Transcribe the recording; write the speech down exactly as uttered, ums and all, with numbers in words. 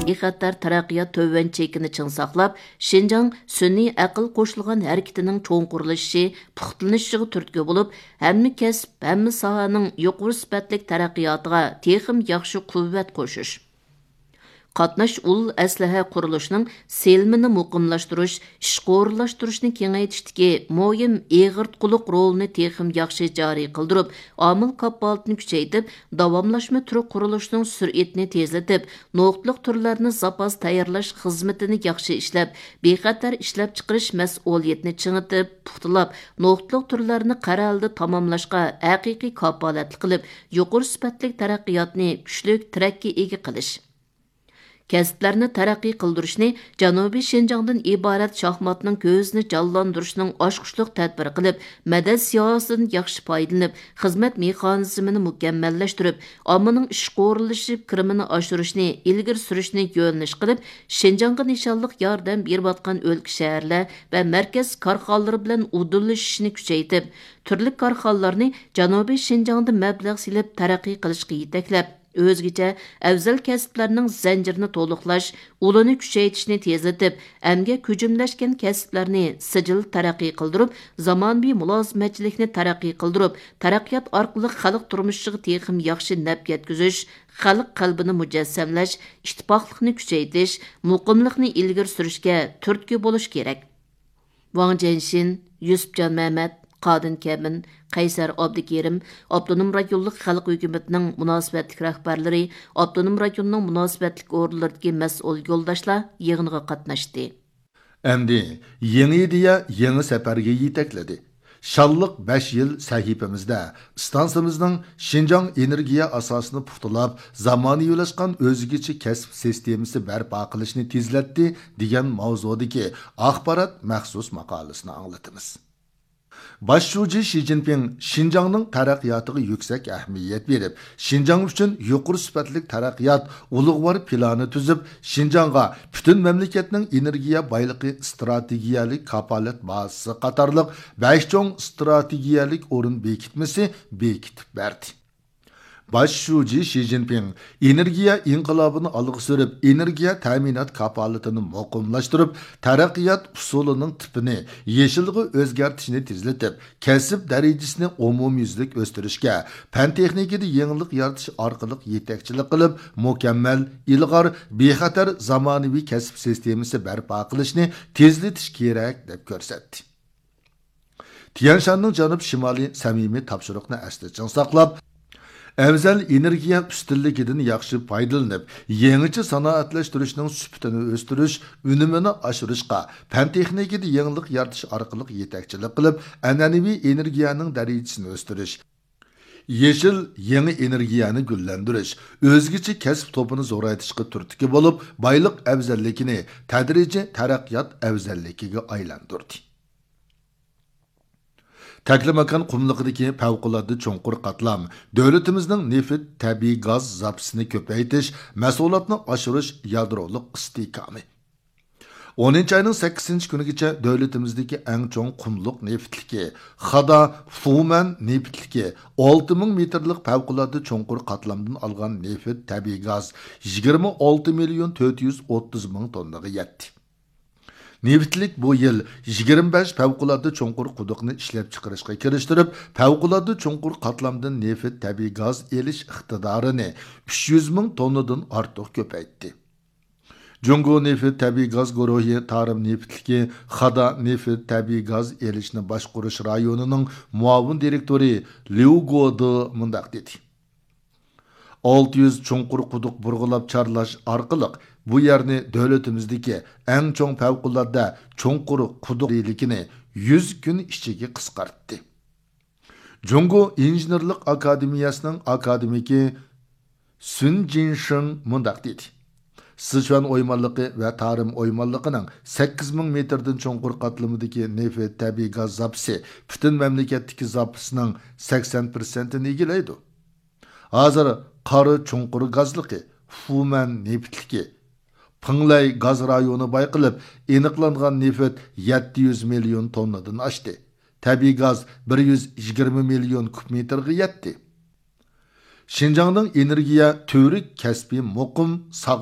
بىخەتەر تەرەققىيات تۆۋەن چېكىنى چىڭ ساقلاپ، شىنجاڭ سۈنئىي ئەقىل قوشۇلغان ھەرىكىتىنىڭ چوڭقۇرلىشىشى، پۇختىلىنىشىغا تۈرتكە بولۇپ، ھەممە كەسىپ، ھەممە ساھەنىڭ يۇقىرى سۈپەتلىك تەرەققىياتىغا تېخىمۇ ياخشى قۇۋۋەت قوشۇش، قاتناش ئۇل ئەسلىھە قۇرۇلۇشىنىڭ سېلىنمىنى مۇقىملاشتۇرۇش، ئىشقا ئورۇنلاشتۇرۇشنى كېڭەيتىشتىكى مۇھىم ئېغىرتقۇلۇق رولىنى تېخىمۇ ياخشى جارى قىلدۇرۇپ، ئامىل كاپالىتىنى كۈچەيتىپ، داۋاملاشما تۈر قۇرۇلۇشىنىڭ سۈرئىتىنى تېزلىتىپ، نۇقتىلىق تۈرلەرنى زاپاس تەييارلاش خىزمىتىنى ياخشى ئىشلەپ، بىخەتەر ئىشلەپچىقىرىش مەسئۇلىيىتىنى چىڭىتىپ، پۇختىلاپ، نۇقتىلىق تۈرلەرنى قەرەلدە تاماملاشقا ھەقىقىي كاپالەتلىك قىلىپ، يۇقىرى سۈپەتلىك تەرەققىياتنى كۈچلۈك تىرەككە ئىگە قىلىش. كەسىپلەرنى تەرەققىي قىلدۇرۇشنى جەنۇبىي شىنجاڭدىن ئىبارەت شاھماتنىڭ كۆزىنى جانلاندۇرۇشنىڭ ئاچقۇچلۇق تەدبىرى قىلىپ، مەدەت سىياسىتىدىن ياخشى پايدىلىنىپ، خىزمەت مېخانىزمىنى مۇكەممەللەشتۈرۈپ، ئاممىنىڭ ئىشقا ئورۇنلىشىپ كىرىمىنى ئاشۇرۇشنى ئىلگىرى سۈرۈشنى يۆنىلىش قىلىپ، شىنجاڭغا نىشانلىق ياردەم بېرىۋاتقان ئۆلكە، شەھەرلەر ۋە مەركەز كارخانىلىرى بىلەن ئۇدۇللىشىشنى كۈچەيتىپ، تۈرلۈك كارخانىلارنى جەنۇبىي شىنجاڭدا مەبلەغ سېلىپ تەرەققىي قىلىشقا يېتەكلەپ، ئۆزگىچە ئەۋزەل كەسىپلەرنىڭ زەنجىرىنى تولۇقلاش، ئۇلىنى كۈچەيتىشنى تېزلىتىپ، ئەمگەك ھۆجۈملەشكەن كەسىپلەرنى سىجىل تەرەققىي قىلدۇرۇپ، زامانىۋى مۇلازىمەتچىلىكنى تەرەققىي قىلدۇرۇپ، تەرەققىيات ئارقىلىق خەلق تۇرمۇشىغا تېخىمۇ ياخشى نەپ يەتكۈزۈش، خەلق قەلبىنى مۇجەسسەملەش، ئىتتىپاقلىقنى كۈچەيتىش، مۇقىملىقنى ئىلگىرى سۈرۈشكە تۈرتكە بولۇش كېرەك. ۋاڭ جيەنشىن، يۈسۈپجان مەمەت، قادىر كەمىن، قەيسەر ئابدۇكېرىم ئاپتونوم رايونلۇق خەلق ھۆكۈمىتىنىڭ مۇناسىۋەتلىك رەھبەرلىرى، ئاپتونوم رايوننىڭ مۇناسىۋەتلىك ئورۇنلىرىدىكى مەسئۇل يولداشلار يىغىنغا قاتناشتى. ئەمدى يېڭى ئىدىيە يېڭى سەپەرگە يېتەكلىدى. شانلىق بەش يىل سەھىپىمىزدە ئىستانسىمىزنىڭ شىنجاڭ ئېنېرگىيە ئاساسىنى پۇختىلاپ، زامانىۋىلاشقان ئۆزگىچە كەسىپ سىستېمىسى بەرپا قىلىشنى تېزلەتتى دېگەن ماۋزۇدىكى ئاخبارات مەخسۇس ماقالىسىنى ئاڭلىتىمىز. باش شۇجى شى جىنپىڭ شىنجاڭنىڭ تەرەققىياتىغا يۈكسەك ئەھمىيەت بېرىپ، شىنجاڭ ئۈچۈن يۇقىرى سۈپەتلىك تەرەققىيات ئۇلۇغۋار پىلانى تۈزۈپ، شىنجاڭغا پۈتۈن مەملىكەتنىڭ ئېنېرگىيە بايلىقى ئىستراتېگىيەلىك كاپالەت بازىسى قاتارلىق بەش چوڭ ئىستراتېگىيەلىك ئورۇن بېكىتمىسى بېكىتىپ بەردى. باش شۇجى شى جىنپىڭ ئېنېرگىيە ئىنقىلابىنى ئالغا سۈرۈپ، ئېنېرگىيە تەمىنات كاپالىتىنى مۇقىملاشتۇرۇپ، تەرەققىيات ئۇسۇلىنىڭ تىپىنى يېشىلغا ئۆزگەرتىشنى تېزلىتىپ، كەسىپ دەرىجىسىنى ئومۇميۈزلۈك ئۆستۈرۈشكە، پەن تېخنىكىدا يېڭىلىق يارىتىش ئارقىلىق يېتەكچىلىك قىلىپ، مۇكەممەل، ئىلغار، بىخەتەر زامانىۋى كەسىپ سىستېمىسى بەرپا قىلىشنى تېزلىتىش كېرەك، دەپ كۆرسەتتى. تيەنشاننىڭ جەنۇب شىمالىي سەمىمىي تاپشۇرۇقنى ئەستە چىڭ ساقلاپ، ئەۋزەل ئېنېرگىيە ئۈستۈنلۈكىدىن ياخشى پايدىلىنىپ، يېڭىچە سانائەتلەشتۈرۈشنىڭ سۈپىتىنى ئۆستۈرۈش، ئۈنۈمىنى ئاشۇرۇشقا، پەن تېخنىكىدا يېڭىلىق يارىتىش ئارقىلىق يېتەكچىلىك قىلىپ، ئەنئەنىۋى ئېنېرگىيەنىڭ دەرىجىسىنى ئۆستۈرۈش، يېشىل يېڭى ئېنېرگىيەنى گۈللەندۈرۈش، ئۆزگىچە كەسىپ توپىنى زورايتىشقا تۈرتكە بولۇپ، بايلىق ئەۋزەللىكىنى تەدرىجىي تەرەققىيات ئەۋزەللىكىگە ئايلاندۇردى. تەكلىماكان قۇملۇقىدىكى پەۋقۇلئاددە چوڭقۇر قاتلام دۆلىتىمىزنىڭ نېفىت، تەبىئىي گاز زاپىسىنى كۆپەيتىش، مەھسۇلاتنى ئاشۇرۇش، يادرولۇق ئىستىھكامى. ئونىنچى ئاينىڭ سەككىزىنچى كۈنىگىچە دۆلىتىمىزدىكى ئەڭ چوڭ قۇملۇق نېفىتلىكى، خادا فۇمەن نېفىتلىكى ئالتە مىڭ مېتىرلىق پەۋقۇلئاددە چوڭقۇر قاتلامدىن ئالغان نېفىت، تەبىئىي گاز يىگىرمە ئالتە مىليون تۆت يۈز ئوتتۇز مىڭ توننىغا يەتتى. نېفىتلىك بۇ يىل يىگىرمە بەش پەۋقۇلئاددە چوڭقۇر قۇدۇقنى ئىشلەپچىقىرىشقا كىرىشتۈرۈپ، پەۋقۇلئاددە چوڭقۇر قاتلامدىن نېفىت، تەبىئىي گاز ئېلىش ئىقتىدارىنى ئۈچ يۈز مىڭ توننىدىن ئارتۇق كۆپەيتتى. جۇڭگو نېفىت تەبىئىي گاز گۇرۇھى تارىم نېفىتلىكى خادا نېفىت تەبىئىي گاز ئېلىشنى باشقۇرۇش رايونىنىڭ مۇئاۋىن دىرېكتورى ليۇ گودې مۇنداق دېدى. ئالتە يۈز چوڭقۇر قۇدۇق بۇرغىلاپ چارلاش ئارقىلىق بۇ يەرنى دۆلىتىمىزدىكى ئەڭ چوڭ پەۋقۇلئاددە چوڭقۇر قۇدۇق دېيىلىكىنى يۈز كۈن ئىچىگە قىسقارتتى. جۇڭگو ئىنژېنېرلىق ئاكادېمىيەسىنىڭ ئاكادېمىكى سۈن جىنشېڭ مۇنداق دېدى: سىچۈەن ئويمانلىقى ۋە تارىم ئويمانلىقىنىڭ سەككىز مىڭ مېتىردىن چوڭقۇر قاتلىمىدىكى نېفىت، تەبىئىي گاز زاپىسى پۈتۈن مەملىكەتتىكى زاپىسىنىڭ سەكسەن پىرسەنتىنى ئىگىلەيدۇ. ھازىر قارا چوڭقۇر گازلىقى، فۇمەن نېفىتلىكى، پىڭلەي گاز رايونى بايقىلىپ، ئېنىقلانغان نېفىت يەتتە يۈز مىليون توننىدىن ئاشتى. تەبىئىي گاز بىر يۈز يىگىرمە مىليون كۇب مېتىرغا يەتتى. شىنجاڭنىڭ ئېنېرگىيە تۈۋرۈك كەسپى مۇقىم، ساغلام.